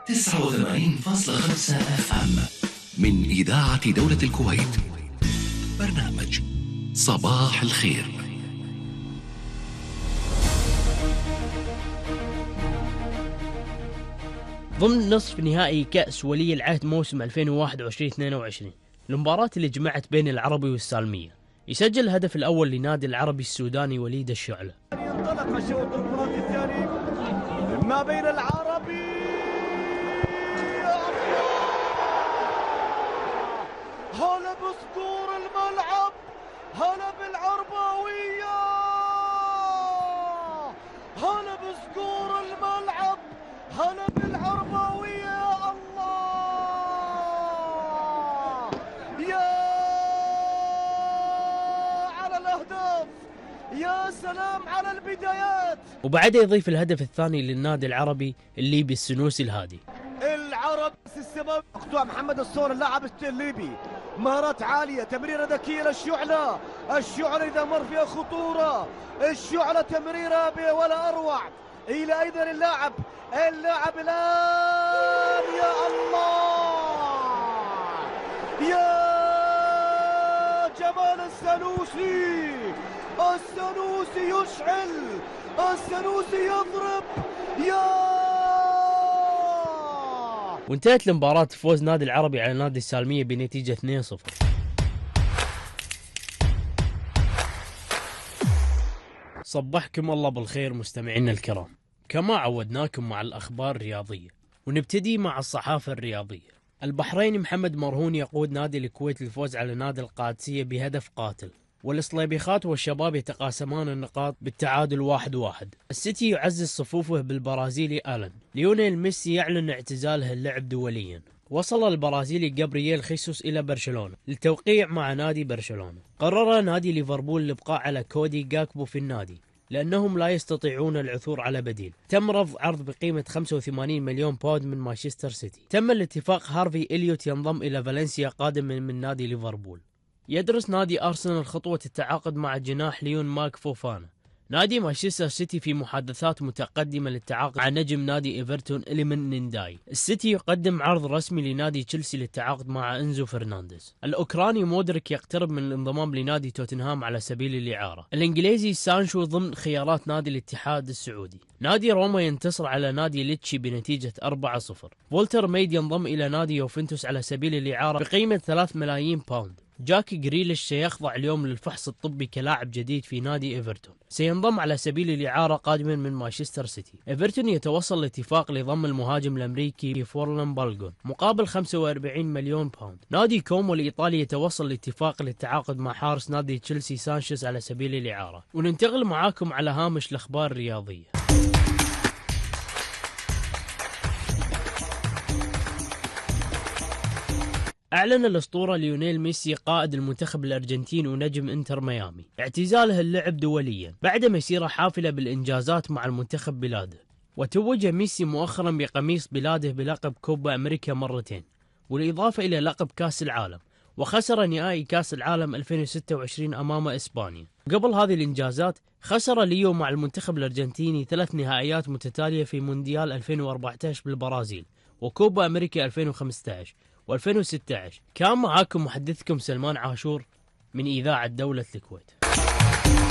89.5 FM من إذاعة دولة الكويت. برنامج صباح الخير. ضمن نصف نهائي كأس ولي العهد موسم 2021-22 المباراة اللي جمعت بين العربي والسالمية، يسجل الهدف الأول لنادي العربي السوداني وليد الشعلة. ينطلق شوط المباراة الثاني ما بين العربي هلا بصدور الملعب، هلا بالعرباوية، هلا بصدور الملعب، هلا بالعرباوية. يا الله يا على الأهداف، يا سلام على البدايات. وبعدها يضيف الهدف الثاني للنادي العربي الليبي السنوسي الهادي. العرب السماوي مقطوع محمد الصور اللاعب الليبي، مهارات عالية، تمريرة ذكية للشعلة، الشعلة إذا مر فيها خطورة، الشعلة تمريرة ولا أروع. إلى أيضا اللاعب الآن يا الله يا جمال السنوسي، السنوسي يشعل، السنوسي يضرب. يا وانتهت المباراة فوز نادي العربي على نادي السالمية بنتيجة 2-0. صبحكم الله بالخير مستمعينا الكرام، كما عودناكم مع الأخبار الرياضية، ونبتدي مع الصحافة الرياضية. البحريني محمد مرهون يقود نادي الكويت للفوز على نادي القادسية بهدف قاتل، والإصليبيخات والشباب يتقاسمان النقاط بالتعادل 1-1. السيتي يعزز صفوفه بالبرازيلي آلان. ليونيل ميسي يعلن اعتزاله اللعب دوليا. وصل البرازيلي جابرييل خيسوس إلى برشلونة للتوقيع مع نادي برشلونة. قرر نادي ليفربول الإبقاء على كودي جاكبو في النادي لأنهم لا يستطيعون العثور على بديل. تم رفض عرض بقيمة 85 مليون باوند من مانشستر سيتي. تم الاتفاق هارفي إليوت ينضم إلى فالنسيا قادما من نادي ليفربول. يدرس نادي أرسنال خطوة التعاقد مع جناح ليون مارك فوفانا. نادي مانشستر سيتي في محادثات متقدمة للتعاقد مع نجم نادي إيفرتون إليمن نينداي. السيتي يقدم عرض رسمي لنادي تشيلسي للتعاقد مع إنزو فرنانديز. الأوكراني مودريك يقترب من الانضمام لنادي توتنهام على سبيل الإعارة. الإنجليزي سانشو ضمن خيارات نادي الاتحاد السعودي. نادي روما ينتصر على نادي ليتشي بنتيجة 4-0. فولتر ميد ينضم إلى نادي يوفنتوس على سبيل الإعارة بقيمة 3 ملايين باوند. جاك جريليش سيخضع اليوم للفحص الطبي كلاعب جديد في نادي إيفرتون. سينضم على سبيل الإعارة قادما من مانشستر سيتي. إيفرتون يتوصل لاتفاق لضم المهاجم الأمريكي فورلان بالغون مقابل 45 مليون باوند. نادي كومو الإيطالي يتوصل لاتفاق للتعاقد مع حارس نادي تشيلسي سانشيز على سبيل الإعارة. وننتقل معاكم على هامش الأخبار الرياضية. أعلن الأسطورة ليونيل ميسي قائد المنتخب الأرجنتيني ونجم إنتر ميامي اعتزاله اللعب دوليا بعد مسيرة حافلة بالإنجازات مع المنتخب بلاده. وتوج ميسي مؤخرا بقميص بلاده بلقب كوبا أمريكا مرتين، والإضافة إلى لقب كأس العالم، وخسر نهائي كأس العالم 2026 أمام إسبانيا. قبل هذه الإنجازات خسر ليو مع المنتخب الأرجنتيني 3 نهائيات متتالية في مونديال 2014 بالبرازيل، وكوبا أمريكا 2015 و2016. كان معاكم محدثكم سلمان عاشور من إذاعة دولة الكويت.